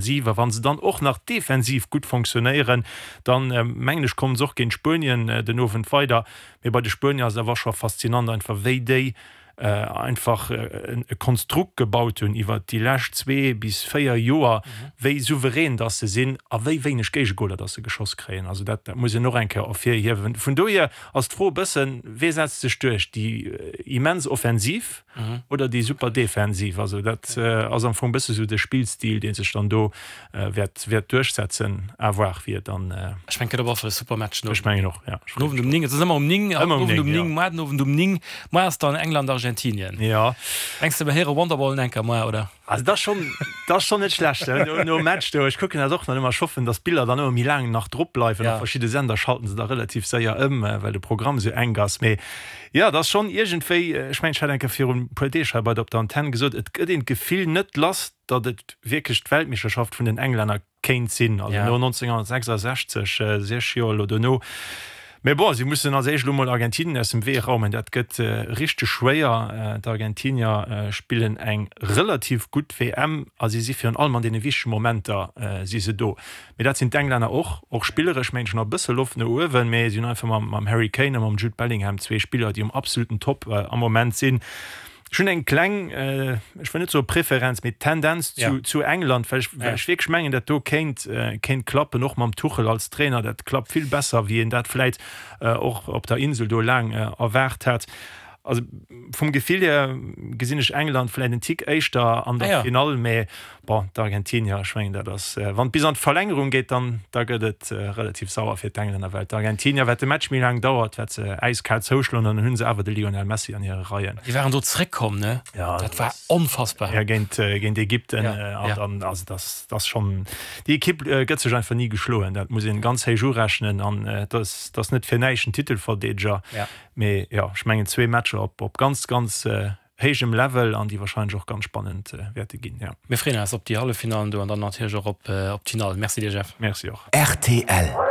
A wa se dann och nach defensiv gutt fonctionnéieren, dann mengen ech, kommen se och géint Spuenien den Owend weider. Mee bei de Spuenier ass et awer scho faszinant einfach, wéi déi einfach e Konstrukt gebaut hunn iwwert déi lescht zwee bis véier Joer, wéi souverän dass se sinn a wéi wéineg Géigegoler dass se geschoss kréien. Also dat muss een och eng Kéier ervirhiewen. Vun dohier ass d'Fro e bëssen, Wee setzt sech duerch, déi immens Offensiv oder déi super Defensiv? Also dat ass am Fong e bësse sou de Spillstil, dee sech dann do wäert wäert duerchsetzen. À voir, wéi et dann. Ech mengen, et gëtt op alle Fall e super Match den Owend. Ech mengen och, ja. Den Owend um 9, et ass ëmmer um 9, haut den Owend um 9, muar den Owend um 9. Muar ass dann England-Argentinien. Jo. Mengs de, mer héiere Wonderwall en enker muar, oder? Also dat ass schonn, dat ass schonn net schlecht, he, nom Match do. Ech kucken dat och nach ëmmer. Ech hoffen, datt d'Biller dann ëmmer méi laang nach drop bleiwen. Op verschidde Sender schalten se da relativ séier ëm, well de Programm esou enk ass. Mee jo, dat ass schonn iergendwéi, ech mengen, ech hat eng Kéier virun e puer Deeg hei bei der op der Antenn gesot, et gëtt een d'Gefill net lass, datt et wierklech d'Weltmeeschterschaft vun den Englänner kéint sinn, also no 1966, 6 Joer elo dono. Mä bon, si mussen als éischt elo mol Argentinien aus dem Wee raumen. Dat gëtt richteg schwéier. D'Argentinier spillen eng relativ gutt WM a si si virun allem an deene wichtege Momenter si se do. Mee dat sinn d'Englänner och, och spilleresch mengen ech nach e bësse Loft no uewen, mee si hunn einfach mam Harry Kane a mam Jude Bellingham zwee Spiller, déi um absoluten Top am Moment sinn. Ech hunn eng kleng, ech wëll net soe Preferenz, mee Tendenz zu, zu England, well ech, well ech wierklech mengen, dat do kéint, kéint klappen, och mam Tuchel als Trainer. Dat klappt vill besser, wéi een dat vläit och op der Insel do laang erwaart hat. Also vum Gefill hier gesinn ech England vläit en Tick éischter an der Finall, mee Bon, d'Argentinier, ech mengen dat ass, wann et bis an d'Verlängerung geet, dann da gëtt et relativ sauer fir d'Englänner, well d'Argentinier, wat de Match méi laang dauert, wat se äiskal zouschloen, an dann hu se awer de Lionel Messi an hire Reien. Déi waren do zeréckkomm, ne? Ja, dat war onfassbar. Ja, géint, géint Ägypten. An dann, also dat ass schonn, déi Ekipp gëtt sech einfach ni geschloen, dat muss een ganz héich urechnen an et ass, et ass net fir näischt en Titelverdeedeger. Mee jo, ech mengen zwee Matcher op, op ganz, ganz héijem Level an déi wahrscheinlech och ganz spannend wäerte ginn, jo. Mir freeën eis op déi Halleffinallen do an dann natierlech och op d'Finall. Merci dir Jeff. Merci och. Rtl.